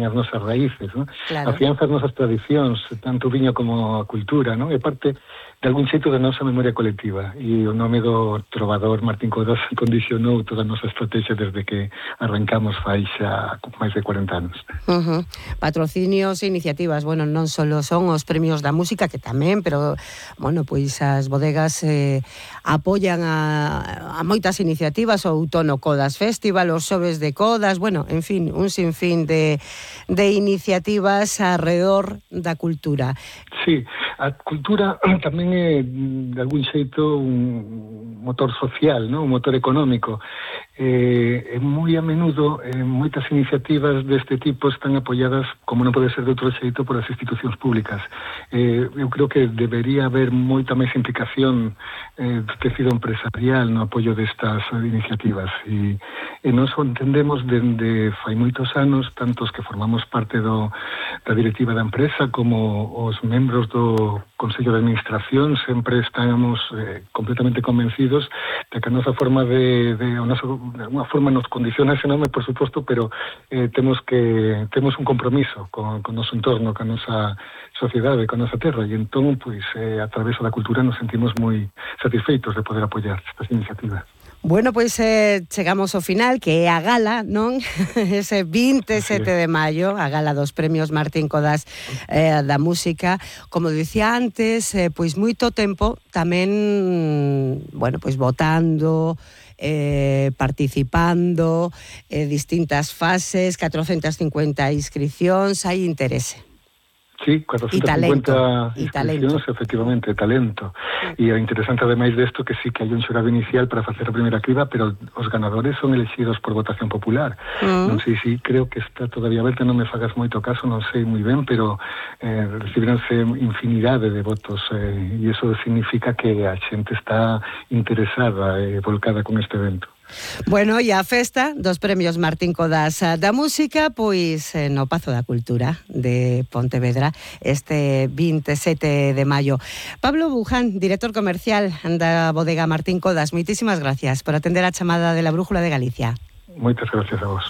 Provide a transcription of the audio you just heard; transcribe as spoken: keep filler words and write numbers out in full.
as nosas raíces, non? Claro. Afianza as nosas tradicións, tanto o viño como a cultura, non? E parte de algún xeito da nosa memoria colectiva, e o nome do trovador Martín Codas condicionou toda a nosa estrategia desde que arrancamos fai xa máis de cuarenta anos. Uh-huh. Patrocinios e iniciativas, bueno, non só son os premios da música, que tamén, pero, bueno, pois as bodegas eh, apoian a, a moitas iniciativas, o Outono Codas Festival, os xoves de Codas, bueno, en fin, un sinfín de, de iniciativas alrededor da cultura. Sí, a cultura tamén é, de algún xeito, un motor social, non? Un motor económico. Eh, moi a menudo, eh, moitas iniciativas deste tipo están apoiadas, como non pode ser de outro xeito, por as institucións públicas. Eh, eu creo que debería haber moita máis implicación eh, do tecido empresarial no apoio destas iniciativas. E, e nós o entendemos dende fai moitos anos, tantos que formamos parte do, da directiva da empresa como os membros do Consello de Administración, sempre estamos eh, completamente convencidos de que a nosa forma de, de, o noso, de alguna forma nos condiciona ese nome, por suposto, pero eh, temos que temos un compromiso con, con o noso entorno, con a nosa sociedade, con a nosa terra, e entón, pois, eh, a través da cultura nos sentimos moi satisfeitos de poder apoiar estas iniciativas. Bueno, pois eh, chegamos ao final, que é a gala, non? Ese vinte e sete de maio, a gala dos premios Martín Codas eh, da música. Como dicía antes, eh, pois moito tempo tamén, bueno, pois votando, eh, participando, eh, distintas fases, catrocentas cincuenta inscripcións, hai interese. Sí, cuatrocentas cincuenta inscripcións, efectivamente, talento. E o interesante, ademais desto, que sí que hai un xurado inicial para facer a primeira criba, pero os ganadores son elegidos por votación popular. Mm. Non sei se, creo que está todavía aberta, non me fagas moito caso, non sei moi ben, pero eh, recibiranse infinidade de votos, eh, e iso significa que a xente está interesada e eh, volcada con este evento. Bueno, e a festa dos premios Martín Codas da música, pois no Pazo da Cultura de Pontevedra, este vinte e sete de maio. Pablo Buján, director comercial da bodega Martín Codas, moitísimas gracias por atender a chamada de la Brújula de Galicia. Moitas gracias a vos.